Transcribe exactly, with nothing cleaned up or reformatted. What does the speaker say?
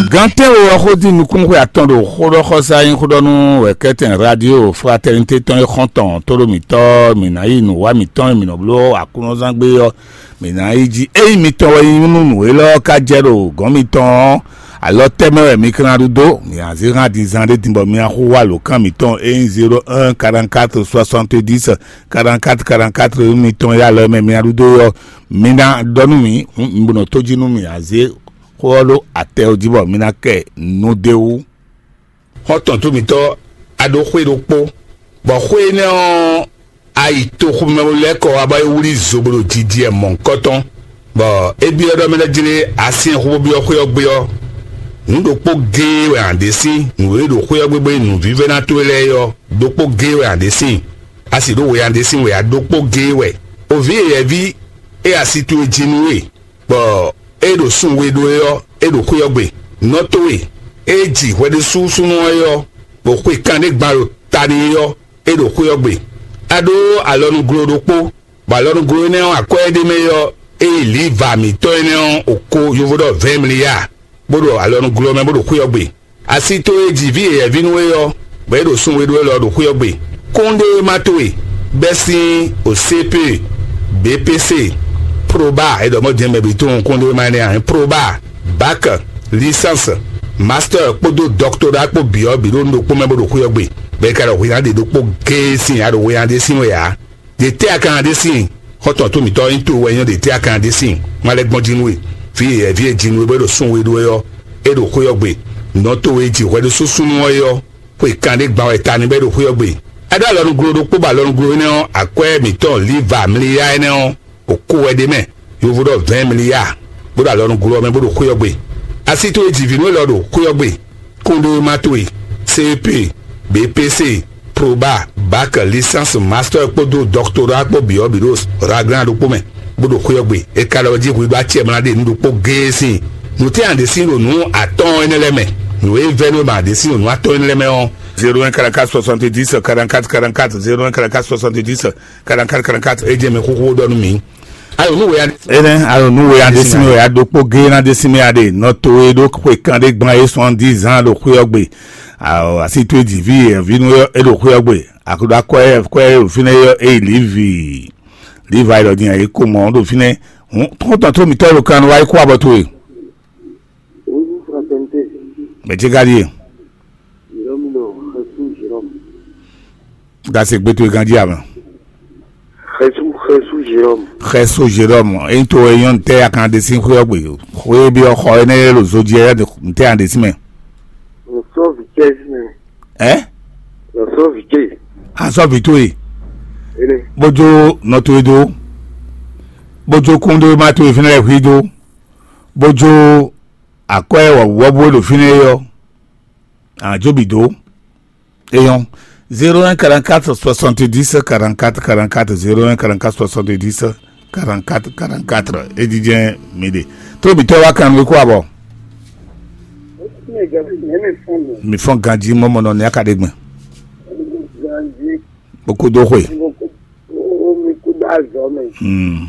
Gantɛ́nwe ɔ́ xó dín nukúnxwe atɔn ɖo xóɖɔxɔsá nyí xóɖɔnú wɛ̌kɛ́tɛn radio Fraternité tɔn e xɔ́ntɔn tóɖó mǐtɔn mǐ ná yi nǔwá mǐtɔn e mǐ nɔ bló Aklúnɔzángbé ɔ́, mǐ ná yi jí. Ényí mitɔn wɛ nyí nú nǔ élɔ́ ɔ́ ka jɛ ɖo gɔ̌n mitɔn ɔ́, alɔ tɛ́ mɛ wɛ mi ka ná ɖu dó? Mǐ ná zé hán din zán ɖé din bɔ mi ná xú wá alǒkan mǐtɔn e nyí zéro un quarante-quatre soixante-dix quarante-quatre quarante-quatre mitɔn e alɔ mɛ mi ná ɖu dó ɔ́, mi ná ɖɔ nú mǐ, hǔn mi bo nɔ tó jí nú mǐ ná zé xó ɔ́ ɖó atɛ ɔ́ jí bɔ mi ná kɛ nǔ d'é wú. Xɔ́ntɔn tó mǐtɔn, a ɖó xwé ɖokpó, bɔ xwé énɛ́ ɔ́, a yi toxo mɛ lɛ́ɛ kɔ wá bɔ é wlí zo bó ɖo jijɛ mɔ̌hunkɔtɔn, bɔ é byɔ́ ɖɔ mɛ lɛ́ɛ jlé asyɛ́nxó bó byɔ́ xwé ɔ́ gbé ɔ́, nǔ ɖokpó géé wɛ a nǎ ɖe sín nǔ e ɖo xwé ɔ́ gbé bó nyí nǔvívɛ́ná towe lɛ́ɛ é ɔ́, ɖokpó géé wɛ a nǎ ɖe sín. A sì ɖó we a nǎ ɖe sín wɛ ǎ, ɖokpó géé wɛ. O vǐ yɛ̌yɛ́ví e asi towe jí nú we, bɔ é ɖo sun we ɖó é ɔ́, é ɖo xwé ɔ́ gbe. Nɔ towe e ji hwɛɖésúsúnú ɔ́ é ɔ́, bɔ xwe kanɖé gban ɖo ta n'i é ɔ́, é ɖo xwé ɔ́ gbe. A ɖó alɔnuglo ɖokpó, bɔ alɔnuglo énɛ́ ɔ́, akwɛ́ e ɖ'é mɛ é ɔ́, é yi lǐva mǐtɔn énɛ́ ɔ́, oko yovo ɖɔ vɛ̌ɛn mliya, bó ɖo alɔnuglo ɔ́ mɛ bó ɖo xwé ɔ́ gbe. Asi towe e ji vǐ yɛ̌yɛ́ví nú we ɔ́, bɔ é ɖo sun we ɖó élɔ́ ɖo xwé ɔ́ gbe. Kúnɖéwéma towe bɛ́ sín O C P, B P C, Proba, é ɖɔ mɔ̌ din mɛ bǐ tunwun kúnɖéwéma énɛ́ ǎ, Proba, Bac, Licence, Master kpódó Doctorat kpó bǐ ɔ́ bǐ ɖo nǔ ɖokpó mɛ bó ɖo xwé ɔ́ gbe, bɔ é ka ɖɔ hwǐ ná ɖe ɖokpó géé sín a ɖo hwǐ ná ɖe sín wɛ ǎ. Ɖe tɛ́ a ka ná ɖe síin? Xɔ́ntɔn tó mǐtɔn nyí towe wɛ nyɔ́, ɖe tɛ́ a ka ná ɖe síin? Má lɛ́ gbɔn jí nú we. Vǐ yɛ̌yɛ́ví e ji nú we bɔ é ɖo sun we ɖó é ɔ́, é ɖo xwé ɔ́ gbe. Nɔ towe e ji hwɛ ɖo súsú nú ɔ́ é ɔ́, xwe kanɖé gban wɛ ta n'i bɔ é ɖo xwé ɔ́ gbe. A ɖó alɔnuglo ɖokpó bɔ alɔnuglo énɛ́ ɔ́, akwɛ́ mǐtɔn Liva Mliya énɛ́ ɔ́, o ko wɛ ɖ'é mɛ, yovo ɖɔ vɛ̌ɛn mliya, bó ɖo alɔnuglo ɔ́ mɛ bó ɖo xwé ɔ́ gbe. Asi towe ji vǐ nú élɔ́ ɖo xwé ɔ́ gbe. Kúnɖéwéma towe, C E P, B P C, Proba, Bac, Licence, Master kpódó Doctorat kpó bǐ ɔ́ bǐ ɖo Raglan ɖokpó mɛ, bó ɖo xwé ɔ́ gbe. È ka ɖɔ jí hwi ɖó acɛ mla ɖe nǔ ɖokpó géé sín. Nǔ tɛ́ a ɖě sín ɖo nǔ atɔ́ɔ́n énɛ́ lɛ́ɛ mɛ? Nǔ e vɛ́ nú è ma ɖě sín ɖo nǔ atɔ́ɔ́n énɛ́ lɛ́ɛ mɛ ɔ́, zéro un quarante-quatre soixante-dix quarante-quatre quarante-quatre, zéro un quarante-quatre soixante-dix quarante-quatre quarante-quatre, é jɛ mɛ xóxó ɖɔ nú mǐ. Ayo nú wěya. Énɛ́ ayo nú wěya ɖé sín wěya ɖokpó géé ná ɖé sín mɛ aɖe nɔ to e ɖó xwe kan ɖé gban é sɔn dix ans ɖo xwé ɔ́ gbe. Asi towe ji vi e vi nú é ɖo xwé ɔ́ gbe. Akuɖo akwɛ kwɛ ɖo fínɛ́ é lǐvi. Lǐva e ɖɔ din ayǐ ko mɔ̌ ɖo fínɛ́. Hǔn xɔ́ntɔn tó mǐtɔn ɖo kan wá yi kó abɔ towe. Bonjour, fraternité. Mɛ ce ka ɖíe? Jérôme ɖo Xɛsu Jérôme. Gase gbé towe ganjí amɛ. Xɛsu, Xɛsu Jérôme. Xɛsu Jérôme, ényí to wɛ nyɔ́ ntɛ́ a kan ɖe sín xwé ɔ́ gbe? Xwé e byɔ́ xɔ énɛ́ e ɖo zo jí ɛ ntɛ́ a ɖe sín mɛ? Nɔ sɔ́ vǐ cɛ sín mɛ. Ɛ? Nɔ sɔ́ vǐ cɛ. A sɔ́ vǐ towe. Énɛ́. Bó jó nɔ towe dó. Bó jó kúnɖéwéma towe fínɛ́ lɛ́ɛ xwí dó. Bó jó akwɛ́ wɔ̌buwɔ́bú e ɖo fínɛ́ é ɔ́, a nǎ jó bǐ dó. Éyɔ́, zéro un quarante-quatre soixante-dix quarante-quatre quarante-quatre, zéro un quarante-quatre soixante-dix quarante-quatre quarante-quatre, é jijɛ mi ɖe. Tó mǐtɔn wá kan nú kó abɔ. Mi fɔn ganjí mɔmɔ nɔ ní akaɖegbɛn. Bó kú dó xwe. Mi kú dó azɔ mɛ. Hmm.